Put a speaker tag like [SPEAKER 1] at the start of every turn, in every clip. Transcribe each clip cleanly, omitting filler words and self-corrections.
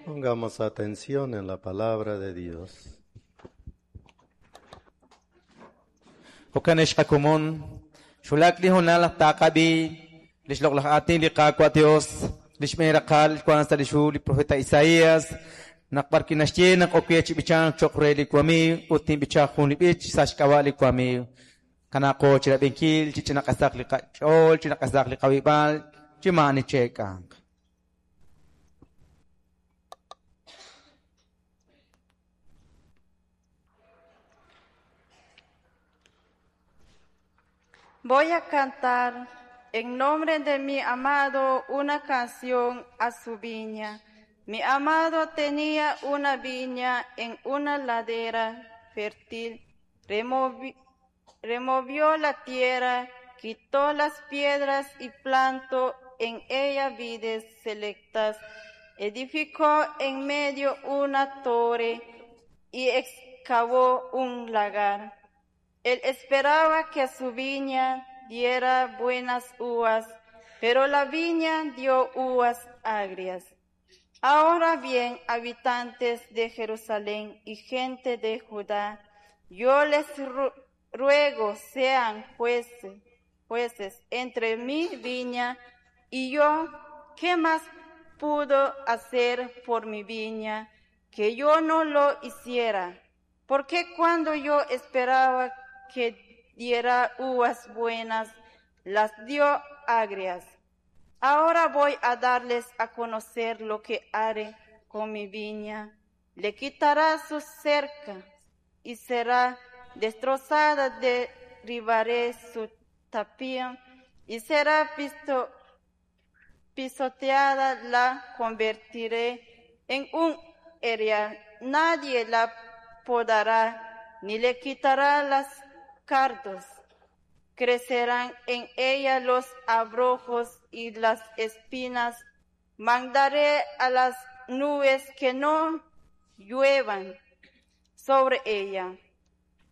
[SPEAKER 1] Pongamos atención en la palabra de Dios.
[SPEAKER 2] Jo'kan ex qakomon, xwulak li hoonal naq taaqab'i li xloq'laj aatin li Qaawa' Dios, li xb'een raqal wank sa' lix hu li profeta Isaías, naq b'ar wi' naxye naq ok we chi b'ichank cho'q re li wamiiw ut tinb'icha jun li b'ich sa' xk'ab'a' li wamiiw. Kanaaqo chirab'inkil chi ch'inaq'asaq li qach'ool, ch'inaq'asaq li qawib'al, chi maa'ani cheek'anq.
[SPEAKER 3] Voy a cantar en nombre de mi amado una canción a su viña. Mi amado tenía una viña en una ladera fértil. Removió la tierra, quitó las piedras y plantó en ella vides selectas. Edificó en medio una torre y excavó un lagar. Él esperaba que su viña diera buenas uvas, pero la viña dio uvas agrias. Ahora bien, habitantes de Jerusalén y gente de Judá, yo les ruego sean jueces entre mi viña y yo. ¿Qué más pudo hacer por mi viña que yo no lo hiciera? Porque cuando yo esperaba que diera uvas buenas, las dio agrias. Ahora voy a darles a conocer lo que haré con mi viña. Le quitará su cerca y será destrozada, derribaré su tapia y será pisoteada, la convertiré en un erial. Nadie la podará ni le quitará las cardos. Crecerán en ella los abrojos y las espinas. Mandaré a las nubes que no lluevan sobre ella.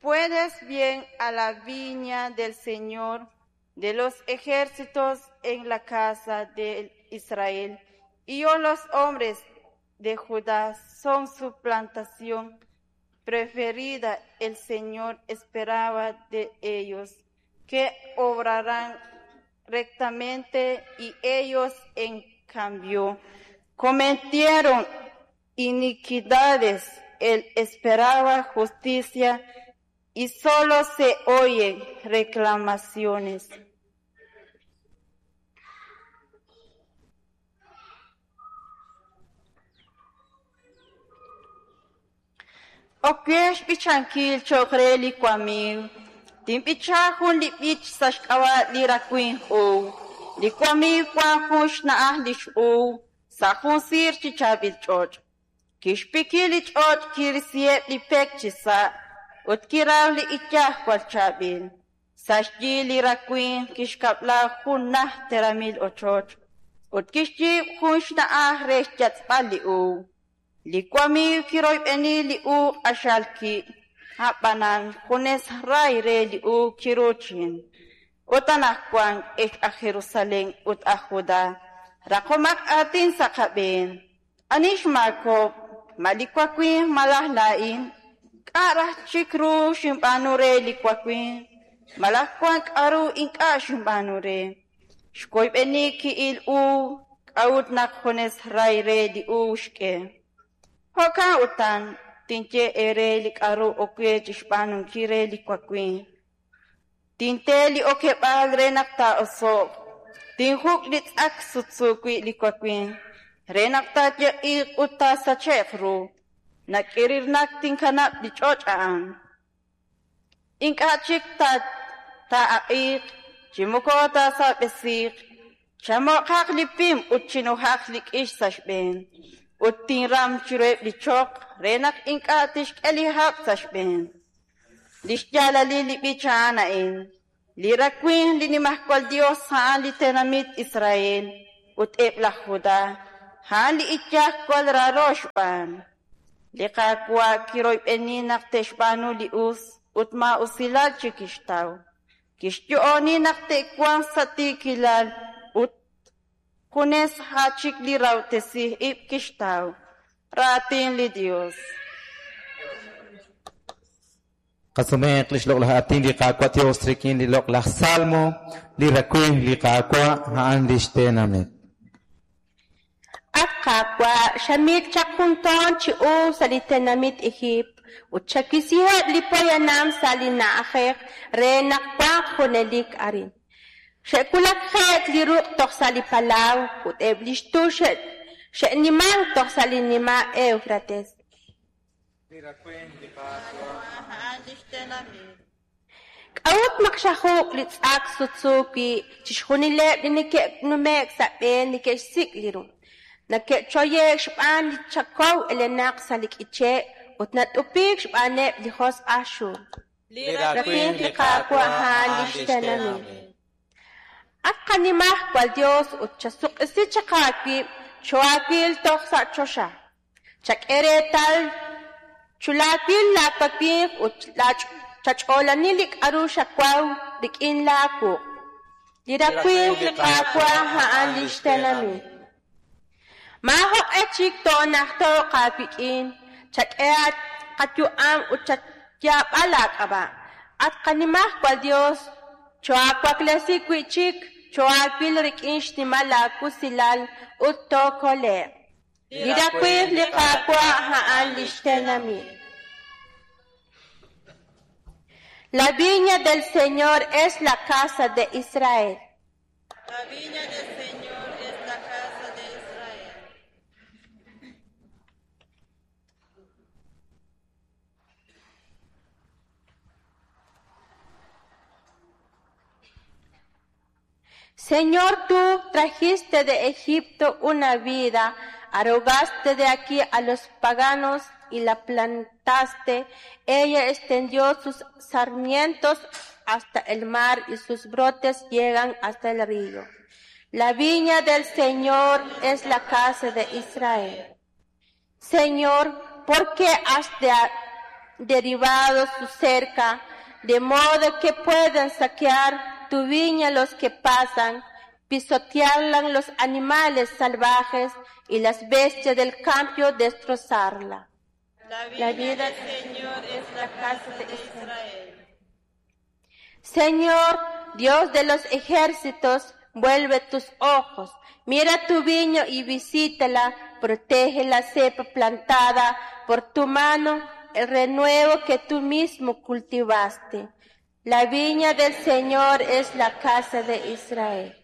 [SPEAKER 3] Puedes bien a la viña del Señor de los ejércitos en la casa de Israel. Y yo, los hombres de Judá, son su plantación preferida. El Señor esperaba de ellos que obrarán rectamente, y ellos, en cambio, cometieron iniquidades. Él esperaba justicia y solo se oyen reclamaciones. Ok we xb'ichankil cho'q re li wamiiw. Tinb'icha jun li b'ich sa' xk'ab'a' li rawimq uub'. Li wamiiw wank jun xna'aj li x'uub' sa' jun siir chi chaab'il ch'och'. Kixpiki li ch'och', kirisiheb' li pek chisa' ut kiraw li iyaj jwal chaab'il. Sa' xyi li rawimq kixkab'la jun najt teramil ochoch ut kixyiib' jun xna'aj re xyatz'b'al li uub'. Li wamiiw kiroyb'eni li uub' q'axal ki', a'b'anan junes ray re li uub' kiruuchin. Ut anaqwan, ex aj Jerusalén ut aj Judá, raqomaq aatin sa' qab'een. Ani xmaakob'k? Ma li wawimq malaj laa'in? K'a' raj chik ru xinb'aanu re li wawimq? Malaj wank k'aru ink'a' xinb'aanu re? Xwoyb'eni ki'il uub', k'a'ut naq junes ray re li uub' xk'e? Jo'kan utan, tinye eere li k'aru ok we chi xb'aanunkil re li wawimq. Tinte li okeb'aal re naq taa'oso'q, tinjuk' li tz'ak sutsu wi' li wawimq, re naq taayeq'iiq ut taasache'q ru. Nak'irirnak tinkanab' li ch'och' a'an. Ink'a' chik taa'aq'iiq chi moko taasab'esiiq, chamo'qaq li pim ut chinujaq li k'ix sa' xb'een. Ut tinram chiruheb' li choql re naq ink'a' tixk'e li hab' sa' xb'een. Li xyaalalil li b'ich a'an a'in: Li rawimq li Nimajwal Yos a'an li tenamit Israel, ut eb' laj Judá a'an li iyaj jwal raaro xb'aan. Li Qaawa' kiroyb'eni naq te'xb'aanu li us ut maa'usilal chik kixtaw. Kixyo'oni naq te'wanq sa' tiikilal ut junes a' chik li rahob'tesij ib' kixtaw. Raatin li Dios.
[SPEAKER 2] Qasumeeq lix loq'laj aatin li Qaawa' Dios rik'in li loq'laj Salmo, li rawimq li Qaawa' a'an lix tenamit.
[SPEAKER 4] At Qaawa', xamik chaq jun toon chi uub' sa' li tenamit Ejiipt ut chawisiheb' li poyanam sa' li na'ajej re naq wanq junelik arin. Xe'wulakje'k li ruq' toj sa' li palaw ut eb' li xtu' xe'nimank toj sa' li nima' Éwfrates. K'a'ut naq xajuk' li tz'ak sutsu wi' chixjunileb' li neke'nume'k sa' b'e neke'xsik' li ru? Neke'choye'k xb'aan li chakow elenaq sa' li k'iche' ut nat'upiik xb'aaneb' li josq' aj xul.
[SPEAKER 2] Li rawimq li Qaawa' a'an lix tenamit.
[SPEAKER 4] At qaNimajwal Yos ut chasuk'isi chaq aawib', choohaawil toj sa' choxa. Chak'e reetal chulaawil laawawimq ut chach'oolani li k'aru xawaw rik'in laawuq'. Li rawimq li Qaawa' a'an li xtenamit. Maajoq'e chik toonajto'q aawik'in, chak'e qayu'am ut chayaab'a laak'ab'a'. At qaNimajwal Yos, choohaawaklesi wi' chik, choohaawil rik'in xnimal laawusilal ut tookole'q. Li rawimq li Qaawa' a'an li xtenamit. La viña del Señor es la casa de Israel.
[SPEAKER 3] La viña del Señor es la casa de Israel.
[SPEAKER 4] Señor, tú trajiste de Egipto una vida, arrogaste de aquí a los paganos y la plantaste. Ella extendió sus sarmientos hasta el mar y sus brotes llegan hasta el río. La viña del Señor es la casa de Israel. Señor, ¿por qué has derribado su cerca, de modo que puedan saquear tu viña los que pasan, pisotearla los animales salvajes y las bestias del campo destrozarla?
[SPEAKER 3] La viña del Señor es la casa de Israel.
[SPEAKER 4] Señor, Dios de los ejércitos, vuelve tus ojos, mira tu viña y visítala, protege la cepa plantada por tu mano, el renuevo que tú mismo cultivaste. La viña del Señor es la casa de Israel.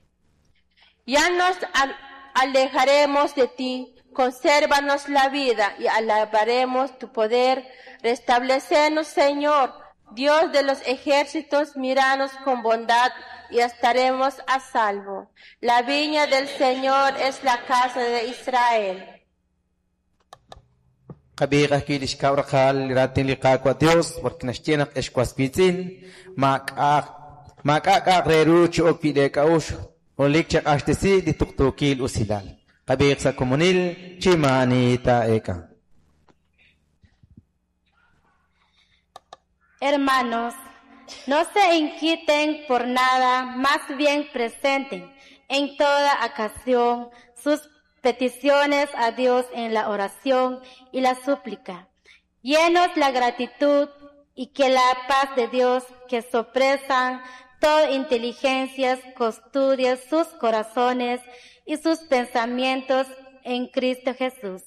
[SPEAKER 4] Ya nos alejaremos de ti, consérvanos la vida y alabaremos tu poder. Restablecenos, Señor, Dios de los ejércitos, míranos con bondad y estaremos a salvo. La viña del Señor es la casa de Israel.
[SPEAKER 2] Qab'iiq ajwi' li xkab' raqal li raatin li Qaawa' Dios, porque naxye naq ex was wiitz'in, maak'a' k'a'aq re ru chi ok wi' leek'a'uxl, junelik chaq'axtesi li tuqtuukil usilal. Qab'iiq sa' komonil chi maa'ani taa'eek'a.
[SPEAKER 5] Hermanos, no se inquieten por nada, más bien presenten en toda ocasión sus peticiones a Dios en la oración y la súplica, llenos la gratitud y que la paz de Dios que sopresa toda inteligencia custodia sus corazones y sus pensamientos en Cristo Jesús.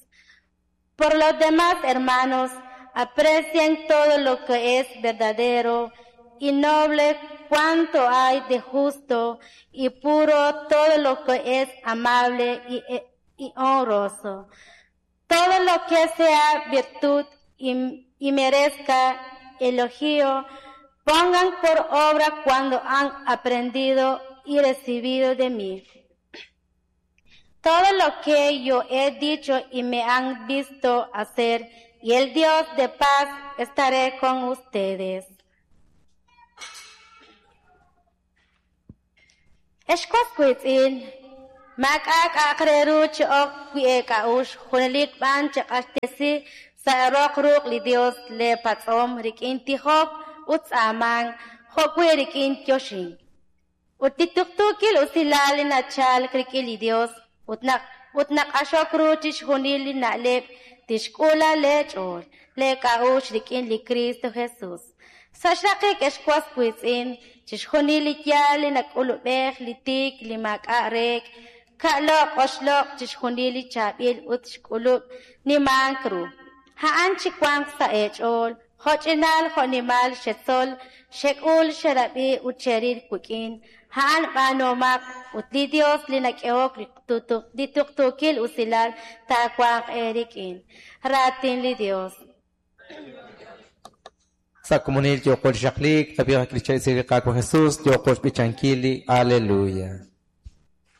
[SPEAKER 5] Por los demás, hermanos, aprecien todo lo que es verdadero y noble, cuanto hay de justo y puro, todo lo que es amable y honroso, todo lo que sea virtud y merezca elogio, pongan por obra cuando han aprendido y recibido de mí. Todo lo que yo he dicho y me han visto hacer, y el Dios de paz estaré con ustedes. Ex was wiitz'in, maak'a' k'a'aq re ru chi ok wi' eek'a'uxl, junelik b'an chaq'axtesi sa' roq ruq' li Dios lee patz'om rik'in tijok ut tz'aamank, jo' wi' rik'in yoxink. Ut li tuqtuukil usilal li nachalk rik'in li Dios ut naq ut naq'axok ru chixjunil li na'leb' tixk'uula leech'ool, leek'a'uxl rik'in li Kristo Jesus. Sa' xraqik ex was wiitz'in, chixjunil li yaal li nak'ulub'ej, li tiik, li maak'a' reek', ka'loq' oxloq' chixjunil li chaab'il ut xk'ulub' nimank ru. A'an chiwanq sa' eech'ool, jo'ch'inal jo'nimal xetzol, xek'ul, xerab'i ut xeril wik'in. A'an b'aanuhomaq ut li Dios li nak'ehok li tuqtuukil usilal taawanq eerik'in. Raatin li Dios.
[SPEAKER 2] Sa' komonil yooqo chi xaqliik, qab'ihaq li chaab'il li Qaawa' Jesus, yooqo xb'ichankil li Aleluya.